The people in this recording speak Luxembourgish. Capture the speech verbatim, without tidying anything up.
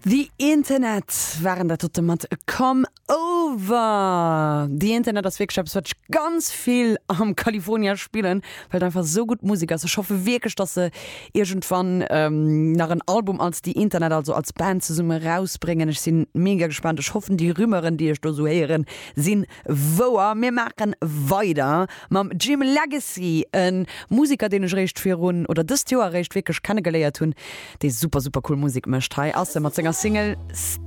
The Internet waren dat dote mat Come Over. The Internet ass wierklech eppes, wat ech ganz vill am California spillen, well et einfach sou gutt Musek ass. Ech hoffe wierklech, dass se iergendwann ähm, nach en Album als The Internet, also als Band zesumme rausbréngen. Ech sinn mega gespaant. Ech hoffen, déi Rumeuren, déi ech do sou héieren, sinn wouer. Mir maache weider mam Jim Legxacy, e Museker, deen ech réischt virun oder dëst Joer réischt wierklech kennegeléiert hunn, dee super super cool Musek mécht. Hei ass e mat senger Single Stay.